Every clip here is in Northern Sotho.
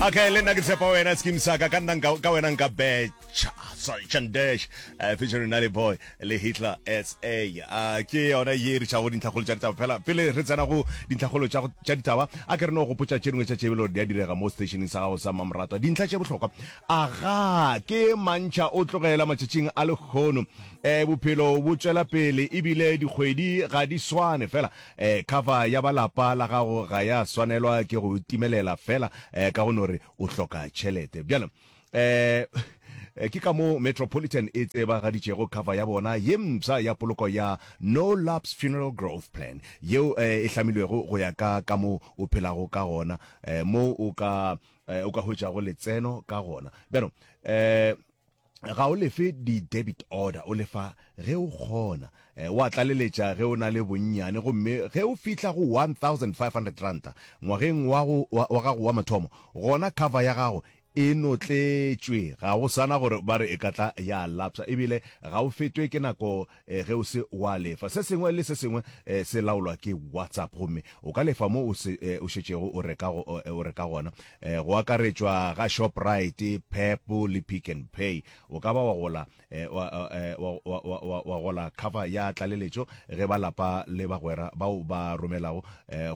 Okay, le nna ke tshepa wena skim saka ka nna nka ka wena nka betcha sorry Chandesh uh, featuring Nali Boy le Hitler SA uh, ke yona ye re tšhago dintlhakgolo tša ditaba fela pele re tsena go dintlhakgolo tša tša ditaba a ke re no gopotša tše dingwe tša tšebelo di a direga mo stationeng sa gago sa Mamratwa dintlha tše bohlokwa a ga ke mantšha o tlogela matšatšing a lekgono eh bophelo bo tšwela pele ebile dikgwedi ga di swane fela Eh, cover ya ba lapa la gago ga ya swanelwa ke go timelela fela eh, ka go no re o hloka tšhelete. Bjale eh, ke ka moo Metropolitan e tsebagaditšego cover ya bona ye mpsha ya poloko ya No Lapse Funeral Growth Plan yeo eh, e hlamilwego go ya ka ka mo o phelago ka gona eh, mo o ka eh, o ka hwetšago letseno ka gona. Bjalo eh, Ga o lefe di-debit order, o lefa ge o kgona. O a tlaleletša ge o na le bonnyane gomme ge o fihla go R1500 ngwageng wa wa gago wa mathomo, gona cover ya gago e notletšwe, ga go sana gore ba re e ka tla ya lapsa ebile ga o fetwe ke nako ge o se wa lefa. Se sengwe le se sengwe se laolwa ke WhatsApp gomme o ka lefa mo o se o šetšego o reka o reka gona, go akaretšwa ga Shoprite, Pep le Pick n Pay. O ka ba wa gola wa wa wa wa gola cover ya tlaleletšo ge ba lapa le bagwera bao ba romelago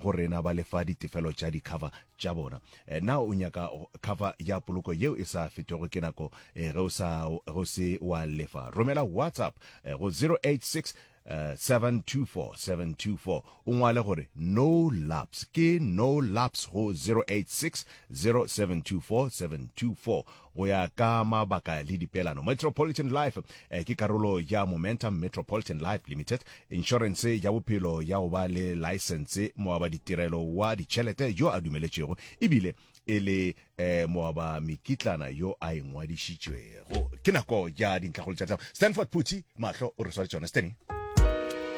go rena ba lefa ditefelo tša di-cover tša bona. Na o nyaka cover ya poloko yeo e sa fetwego ke nako ge o sa ge o se wa lefa? Romela WhatsApp go 086 724 724 o ngwale gore no lapse ke no lapse go 086 0724 724 go ya ka mabaka le dipeelano. Metropolitan Life ke karolo ya Momentum Metropolitan Life Limited, inšorense ya bophelo ya go ba le laesense, moabaditirelo wa ditšhelete yo a dumeletšwego ebile e le moabamekitlana yo a ingwadišitšwego. Ke nako ya dintlhakgolo tša ditaba. Stanford Phuthi mahlo o re sware tšona. Stanny.